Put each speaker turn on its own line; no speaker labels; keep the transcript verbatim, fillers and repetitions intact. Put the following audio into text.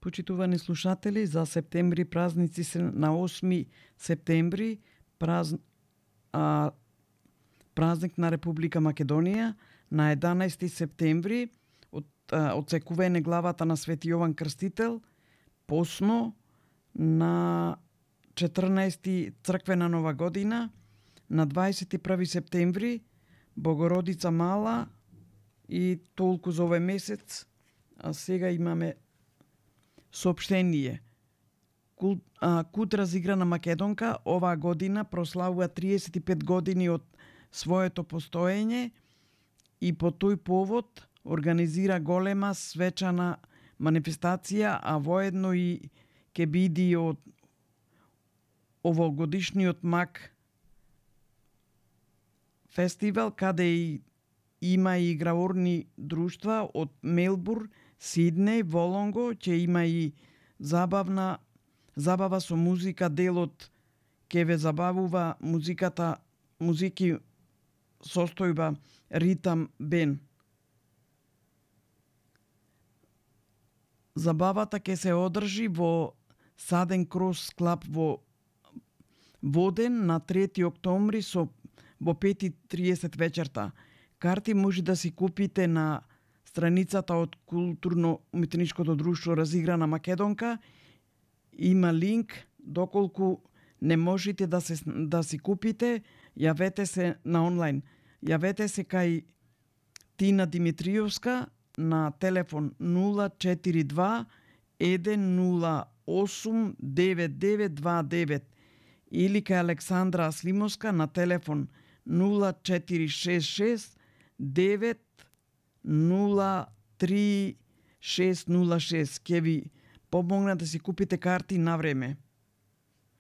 Почитувани слушатели, за септември празници се на осми септември, празн... а, празник на Република Македонија, на еданаести септември од одсекување главата на Свети Јован Крстител, посно на четрнаести црквена нова година, на дваесет и први септември Богородица Мала и толку за овој месец. А сега имаме соопштение. Кул, а, Кут разиграна Македонка оваа година прославува триесет и пет години од своето постоење и по тој повод организира голема свечана манифестација, а воедно и ќе биде од овогодишниот МАК фестивал, каде и има и играорни друштва од Мелбурн, Сиднеј, Волонго, ќе има и забавна забава со музика, делот ќе ве забавува музиката, музики состојба Ритам Бен. Забавата ќе се одржи во Саден Крос Клаб во Воден на трети октомври со во пет и триесет вечерта. Карти може да си купите на страницата од Културно-уметничкото друштво Разиграна Македонка. Има линк, доколку не можете да се да си купите, јавете се на онлайн. Јавете се кај Тина Димитриевска на телефон нула четири два еден нула осум девет девет два девет или кај Александра Аслимовска на телефон нула четири шест шест девет нула три шест нула шест. Ке ви помогна да си купите карти на време.